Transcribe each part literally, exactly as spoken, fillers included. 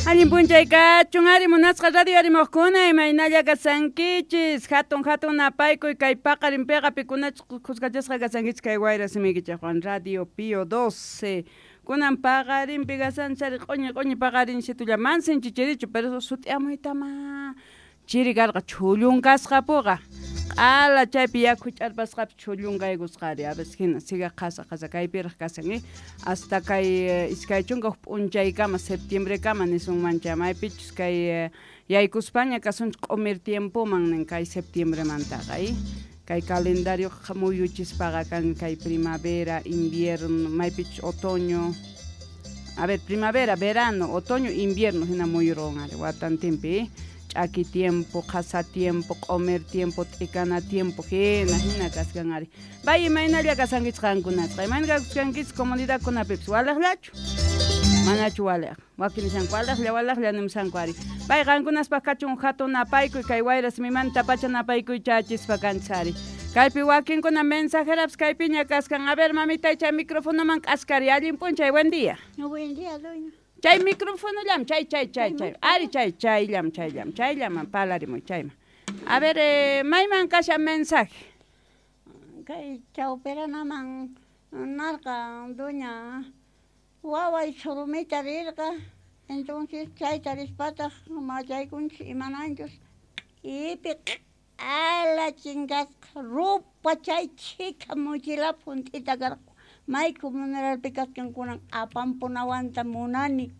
Allin p'unchay kachun ari munasqa radio arimuqkuna imaynalla kasankichis hatun hatun napaykuy kay paqarinpiqa pikunachus khuskachasqa kasankichis kay wayra simiykichikwan Radio Pío doce kunan paqarinpi kasanchari q'uñi q'uñi paqarinsitulla mansinchi chirichu pero sut'iyamuytama chiri karqa chhullunkasqapuqa q'ala chaypi yaku ch'arpasqapi chhullunqaykusqari a veces hina siga qhasa qhasa kaypiraq kasan eh hasta kay iskay chunka huk p'unchaykama septiembrekama nisunmancha maypichus kay yaykuspaña kasunchik q'umir tiempoman nin kay septiembremantaqa eh kay calendario muyuchispaqa kan kay primavera invierno maypichus otoño a ver primavera verano otoño invierno hina muyurqun ari watantinpi eh ch'aki tiempo, qhasa tiempo, q'umir tiempo, t'ikana tiempo, hina hina kaskan ari. Bay imaynalla kasankichis qankunasqa, imayna kakuskankichis comunidadkunapipis walaqllachu? Manachu walaq, wakin nishanku walaqlla walaqlla nimushanku ari. Bay qankunaspaq kachun hatun napaykuy kay wayra simimanta pacha napaykuy chachispa kanchis ari. Kaypi wakinkuna mensajerapis kaypiña kaskan. A ver mamitay chay microfonoman k'askari, allin p'unchay, buen día. Buen día, doña. Chay microfonollam, chay, chay, chay, chay. Ari, chay, chayllam, chayllam, chayllaman palarimuy, chayman. A ver, eh, mayman kashan mensaje. Kay chawpiranaman narqa doña waway surumita rirqa, entonces chayta rispataq machaykunchis imananchus ipi q'ala chinkasqa rupa chay chhika mochilapi hunt'ita karqa. May comunalpi kasqankunan apampunawanta munani.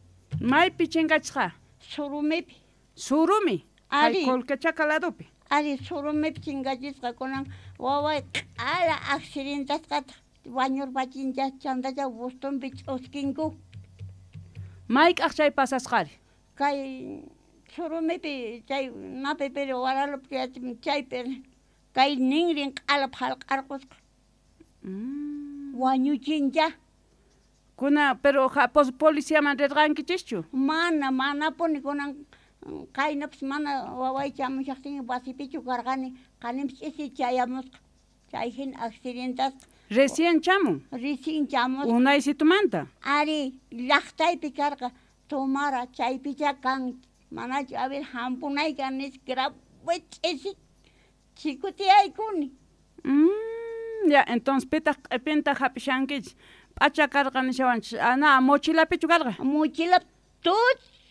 Maypi chinkachisqa? Surumipi. Surumi? Ari. Colquechaca ladopi. Ari, surumipi chinkachisqa kunan waway q'ala accidentasqataq wañurpachinchas chantacha bustumpi ch'uskinku. Mayk'aq chay pasasqari? Kay surumipi chay napi pero waralupi chaypi kay ninrin q'ala phalq'arqusqa. Mm. Wañuchincha. Kuna, pero ja, pos, policiaman rirqankichischu? Mana, manapuni kunan qaynapis mana waway chamushaqtin wasipichu karqani, qaninpis ch'isi chayamusqa. Chay hina accidentasqa. Recién chamun? Recién chamusqa. Unaysitumanta? Ari, llaqtaypi karqa, tomara chaypicha kan, manachu a ver hampunayka nispa grave ch'isi chikutiyaykuni. Mm. Ya, entonces pitaq q'ipinta hap'ishankichis p'acha karqa nishawanchis ana mochilapichu karqa? Mochila tutu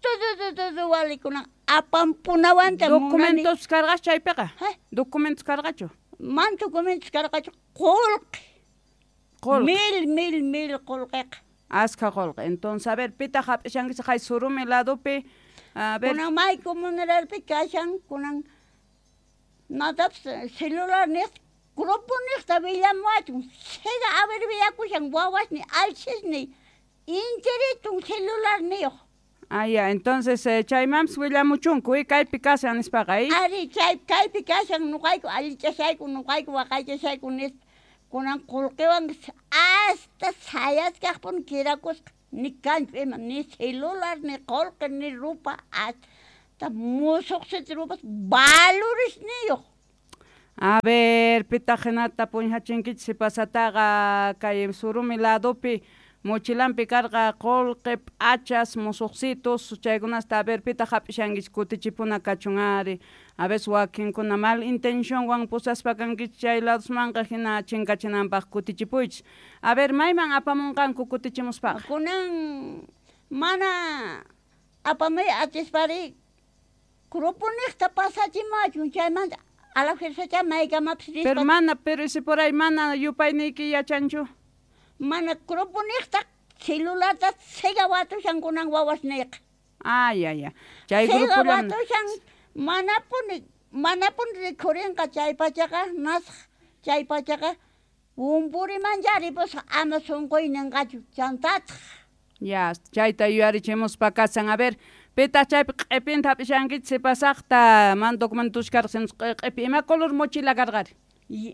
tutu tutu walikunan apampunawanta munani. Documentos karqachu chaypiqa? Documentos karqachu? Man documentos karqachu, qullqi. Qullqi. Mil, mil, mil qullqiqa. Askha qullqi. Entonces, a ver, pitaq hap'ishankichis hay surumi ladopi, a ver. Kunan may comunalpi kashan, kunan natapis celular niq grupo niqta willamuwachun, siga a ver willakushan wawasni alchisni intiritun celularniyuq. Ah, ya, entonces eh, chaymanpis willamuchunku, eh, kaypi kashan nispaqa, eh? Ari, chay kaypi kashan nuqayku allichashayku, nuqayku waqaychashayku nispa. Kunan qullqiwan hasta sayaskaqpuni kirakusqa, ni kanchu ima, ni celular, ni qullqi, ni rupa, hasta musuqsita rupas valoresniyuq. A ver, pitaq hinata puñhachinkichis pasataqa kay surumi ladopi mochilampi karqa qullqi, p'achas, musuqsitos, chaykunasta a ver pitaq hap'ishankichis kutichipuna kachun ari. A veces wakinkuna mal intencionwan pusaspa kankichis chay ladosmanqa hina chinkachinanpaq kutichipuychis. A ver, mayman apamunqanku kutichimuspaqa? Kunan mana apamuy atispari grupo niqta pasachimachun chaymanta a la fuerza maykamapis rispa. Pero mana, pero ese por ahí mana yupayniyki yachanchu? Mana grupo niqta celularta siga watushan kunan wawasniyqa. Ah, ya, ya. Chay siga grupo watushan manapuni manapuni rikhurinqa chay pachaqa nasq chay pachaqa wumpurimancha ripusqa ama sunquy ninqachu chantataq. Ya, chayta yuyarichimuspa kasan. A ver, pitaq chaypi q'ipinta hap'ishankichis pasaqta man documentos karqa q'ipi ima color mochila karqari?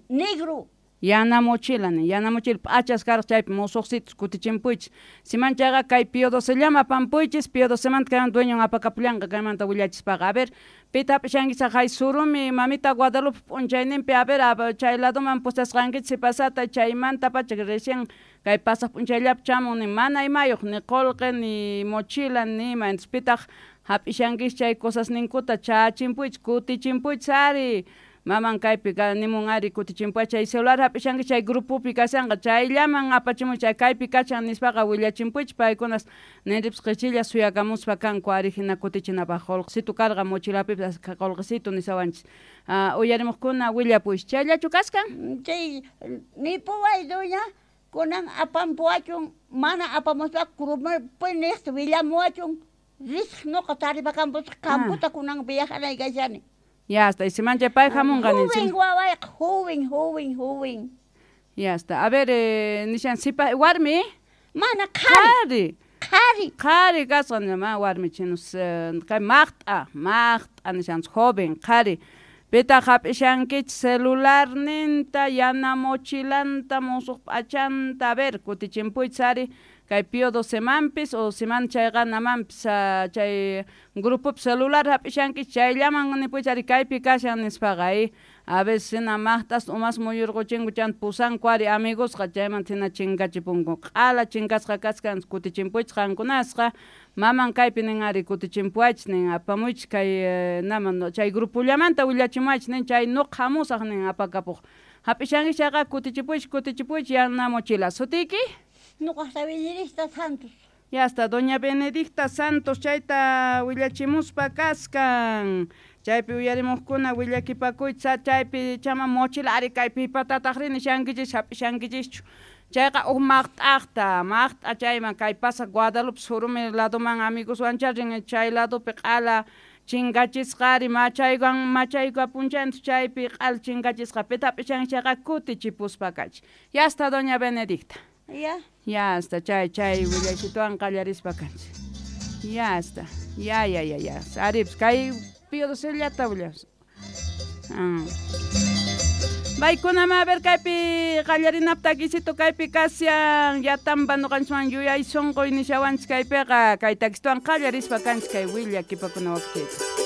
Negro. Yana mochila nin, yana mochila p'achas karqa chaypi musuqsitus kutichimpuychis. Siman chayqa kay Pío Docellama apampuychis, Pío Docemanta kayman dueñon apakapullanqa kaymanta willachispaqa. A ver, pita hap'ishankichis haqay surumi mamita Guadalupe p'unchayninpi, a ver, chay ladoman pusasqankichis sipasata chaymanta pacha recién kay pasaq p'unchayllapi chamun ni mana imayuq ni qullqi ni mochila ni ima, entonces pitaq hap'ishankichis chay cosasninkuta chachimpuychis kutichimpuychis ari. Maman kaypi nimun ari kutichimpuy chay celular hap'ishankichis chay grupopi kashanqa chayllaman apachimuy chay kaypi kachan nispaqa willachimpuychis paykunas ninripis qichilla suyakamuspa kanku ari hina kutichinapaq qullqisitu karqa mochilapipis qullqisitu nisawanchis. Uh, uyarimuqkuna willapuychis chayllachu kaskan? Chay nipuway doña kunan apampuwachun mana apamuspa grupopi niqta willamuwachun risq nuqa taripakampuchis kamputa kunan viajanay kashani. Ya está, y se mancha pay hamunqa Joven wawayqa, joven, joven, joven. Ya está. A ver, eh, nishan sipa warmi? Mana qhari. Qhari. Qhari kasqa ma warmi chinus kay maqt'a, maqt'a nishan joven, qhari. Pitaq hap'ishankichis celularninta, yana mochilanta, musuq p'achanta, a ver, kutichimpuychis ari. Kay Pío Docemanpis o siman chayqa namanpis chay grupopi celular hap'ishankichis chayllaman nipuychis ari kaypi kashan nispaqa ay a veces hina maqt'as umas muyurquchinku chanta pusanku ari amigosqa chaymanta hina chinkachipunku q'ala chinkasqa kaskan kutichimpuychis qankunasqa maman kaypi nin ari kutichimpuwaychis nin apamuychis kay naman chay grupollamanta willachimuwaychis nin chay nuqa hamusaq nin apakapuq hap'ishankichis chayqa kutichipuychis kutichipuychis yana mochila sutiyki. Nuqasta Benedicta Santos. Ya está, doña Benedicta Santos chayta willachimuspa kaskan. Chaypi uyarimuqkuna willakipakuychis chaypi chama mochila ari kaypi patataq rini shankichis hap'ishankichischu. Chayqa uj maqt'aqta, maqt'a chayman kay pasa Guadalupe surumi ladoman amigoswan rin chay ladopi q'ala chinkachisqa ari machaywan machaykapunchanchis chaypi q'ala chinkachisqa pita hap'ishankichis chayqa kutichipuspa kachis. Ya está, doña Benedicta. Ya. Ya está, chay, chay, willaychituan qallarispa kanchis. Ya está, ya, ya, ya, ya. Arips, kay Pío Docellata willas. Ah. Baykunama, a ver, kaypi qallarinap takisito kaypi kashan, yatampa nuqanchikman yuyay sunquy nishawanchis kaypiqa, kay takisituan qallarispa kanchis kay willakipakuna wakchayta.